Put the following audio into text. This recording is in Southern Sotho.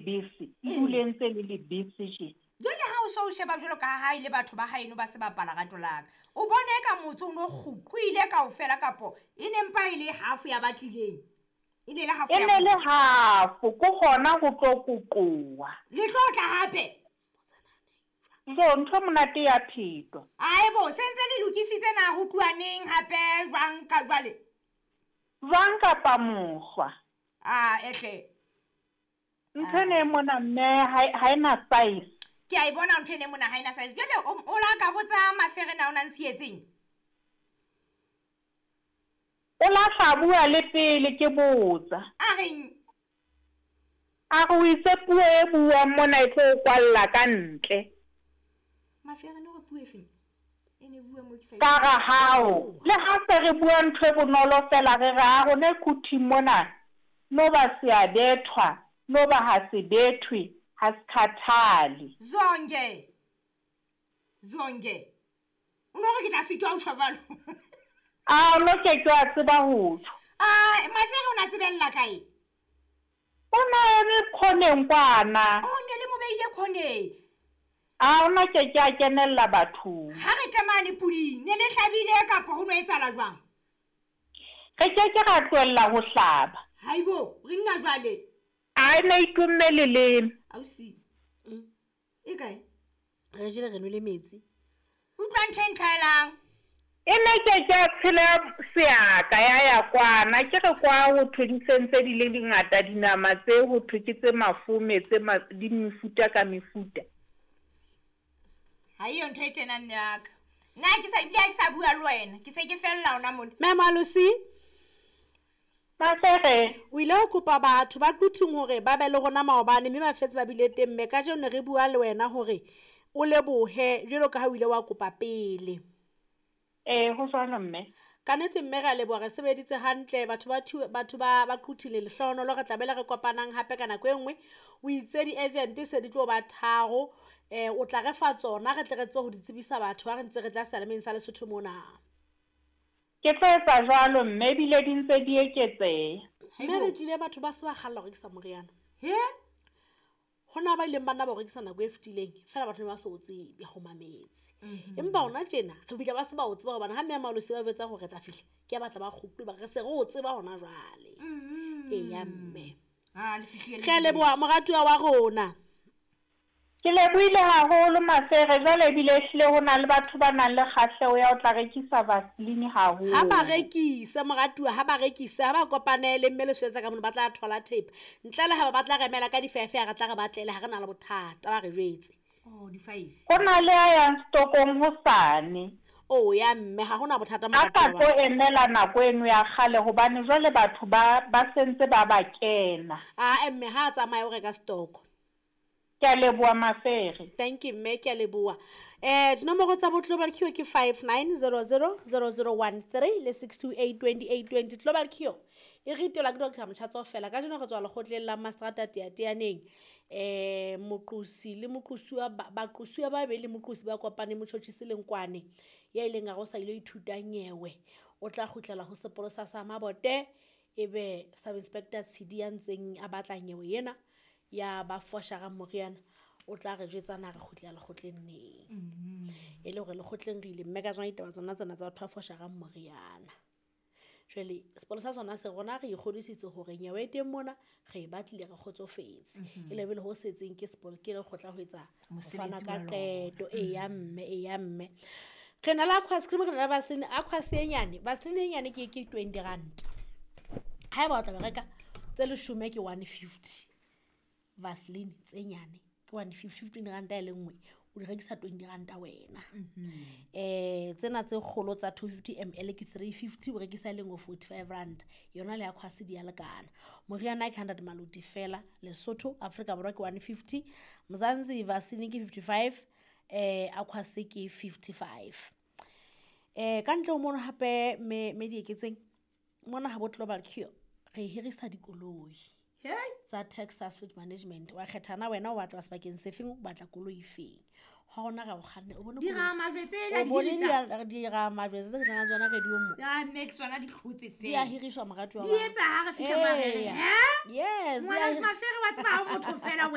Lebese, e dule ntse le lebese je. Jwale ha o so o sheba jwalo ka ha e le batho ba haeno ba se bapala rato laka, o bone eka motse o no kguqwile kaofela kapo e ne mpa e le half ya ba tlileng? E ne le half E ya ne le motse. half, ko hona ho tlo koqowa. Le tlo tla hape? Jo, ntho e monate ya phetwa. Aebo, se ntse le lokisitse na ho tluwa neng hape jwang ka jwale? Jwang kapa mohlwa? A ehle. Ntho ena e mona mme ha e na size. Ke a e bona ntho ena e mona ha e na size. Jwale o la ka botsa Mafere na o na ntshietseng? O la hla bua le pele ke botsa. A reng? A re o itse puo e buang mona e tlo o kwalla ka ntle. Mafere no re puo e feng? E ne bua mo ke sa Ka ra hao. Le ha se re bua ntho e bonolo fela re re a rona Quthing mona no ba se a bethwa, no ba ha se bethwe, ha se khathale. Zonke. Zonke. O no re ke tla sitwa ho tjho jwalo. A o no ke ke wa tseba ho tjho. A Mafere o na tsebella kae? O na eme khoneng kwana. O ne le mo beile khoneng. A ona ke ke a kenella bathong. Ha re tle mane puding, ne le hlabile kapa ho no etsahala jwang? Re ke ke ra tlohella ho hlaba. Haibo, re nna jwale. A ne itumme leleme. Ausi. E kae? Re jele re nwele metsi. Utlwa ntho e ntlhaelang. E ne ke ke a tshela seaka ya ya kwana, ke re kwa ho thwe di sentse di le dingata dinama tse ho thwe ke tse mafome tse di mefuta ka mefuta. Ha eyo ntho e tjena mme wa ka. Nna ke sa ebile ha ke sa bua le wena, ke se ke fella hona mona. Mme Malosi. Mafere. O ile ho kopa batho ba Quthing hore ba be le rona maobane mme ba fetse ba bile teng mme kajeno ne re bua le wena hore o lebohe jwalo ka ha o ile wa kopa pele. Ee, ho jwalo mme. Ka nnete mme re a leboha, re sebeditse hantle batho ba batho ba ba Quthing lehlohonolo re tla bele re kopanang hape ka nako e nngwe. O itse di-agent se di tlo ba tharo, o tla re fa tsona re tle re tsebe ho di tsebisa batho ha re ntse re tla sealemeng sa Lesotho mona. Ke tlo etsa jwalo mme ebile di ntse di eketseha. Mme re tlile batho ba se ba kgalla ho rekisa moriana. He? Hona ba ileng ba nna ba o rekisa nako e fetileng, fela batho ne ba sa o tsebe ho mametse. Empa hona tjena re fihla ba se ba o tseba hobane ha mme Malosi ba jwetsa hore re tla fihla, ke a batla ba kgutle ba re se re o tseba hona jwale. Eya mme. Ah, le fihlile le Re a leboha moratuwa wa rona. Ke lebohile haholo Mafere, jwale ebile ehlile ho na le batho ba nang le kgahleho ya ho tla rekisa Vaseline haholo. Ha ba rekise moratuwa, ha ba rekise, ha ba kopanele mme le swetsa ka mono ba tla thola thepa. Ntle le ha ba batla re emela ka difefe re tla re batlele ha re na le bothata ba re jwetse. Oh, di-five. Ho na le a yang stokong hosane. Oh, ya mme ha hona bothata A sa moratuwa tlo wa ka. emela nako eno ya kgale hobane jwale batho ba sentse ba ba kena. Ah, mme ha a tsamaye o reka stoko. Ke a leboha Mafere. Thank you mme, ke a leboha. Dinomoro tsa bo Global Cure ke 59000013 le 6282820. Global Cure e ritelwa ke Doctor Motjhatso fela. Kajeno re tswa lekgotleng la Mastrata Teateaneng. Moqosi le moqosuwa baqosuwa ba babedi le moqosi ba kopane motjhotjhisi le Nkwane ya ileng a re o sa ilo ithuta nyewe. O tla kgutlela ho sepolesa sa Mabote ebe Sub Inspector Tshidi ya ntseng a batla nyewe ena ya ba foshara moriana o tla re jwetsa na re kgutlela lekgotleng neng. E le hore lekgotleng re ile mme ka tsona ditaba tsona tsena tsa batho ba fosharang moriana. Jwale sepolesa sona se rona re ikgodisitse hore nyewe e teng mona re e batlile re kgotsofetse. E le bele ho setseng ke ke lekgotla ho etsa ho fana Mosebetsi ka wa lona. qeto. Eya mme, eya mme. Re na le aqua cream, re na le Vaseline. Aqua e nyane, Vaseline e nyane ke 20 rand. Haeba o tla ba reka tse leshome ke 150. Vaseline tse nyane ke 150, 15 rand e le nngwe, o di rekisa 20 rand wena. Tsena tse kgolo tsa 250 ml ke 350, o rekisa e le nngwe 45 rand. Yona le aqua di a lekana. Moriana ke 100 maloti fela, Lesotho, Afrika Borwa ke 150, Mzansi Vaseline ke 55, aqua ke 55. Ka ntle ho mono hape me dieketseng, mona ha bo Global Cure re hirisa dikoloi. Hey. Tsa Texas Fleet Management. Wa kgetha na wena o batla sebakeng se feng, o batla koloi e feng. Ha hona ra o kganna, o bone Di koloi. ramajwe tse la O di bone hirisa? di ramajwe tse ke tlang tsona radio mo. Ya, mme ke tsona di hlotse Di a fela. hiriswa moratuwa Di wa ka. etsa ha re fihla Marere, Eya. he? Yes, di a Ngwana Mafere wa tseba ha o motho fela wena.